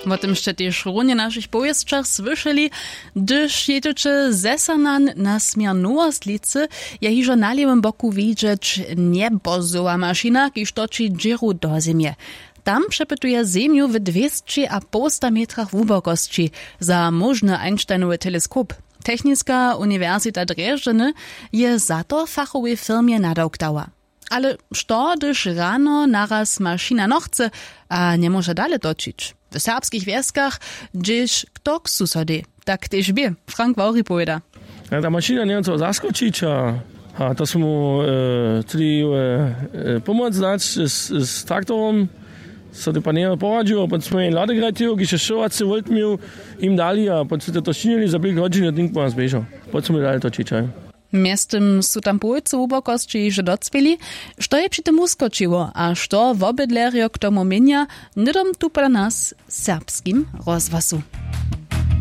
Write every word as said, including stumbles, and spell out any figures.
Wo tym sće tež runje w našich powěsćach słyšeli. Hdyž jědźeće ze Sernan na směr Nowostlicy, je hižo na lěwym boku widźeć njebozowa mašina, kiž toči dźěru do zemje. Tam přepytuje zemju w dwěsći a połsta metrach hłubokosći za móžny Einsteinowy teleskop. Techniska uniwersita Drježdźeny je za to fachowej firmje nadawk dała. Ale što hdyž rano naraz mašina nochce a njemóže dale točić? W serbskich wjeskach, hdźež kto k susodej, tak tež bě. Frank Wawri powěda. A ta mašina njeje co zaskočić a, a to su mu e, tři e, e, pomoc dać z, z traktorom. So ty pan njeje poradźił a potom smo jen ladek rajtił kiž je šowacy volt měł, jim dali a potom su to činili za pět hodźin a tink po nas běžał. Potom su mi dali točić, haj. Mjeztym su tam połojcy hłubokosće hižo docpěli. Što je při tym wuskočiło a što wobydlerjo k tomu měnja, hnydom tu pola nas w serbskim rozhłasu.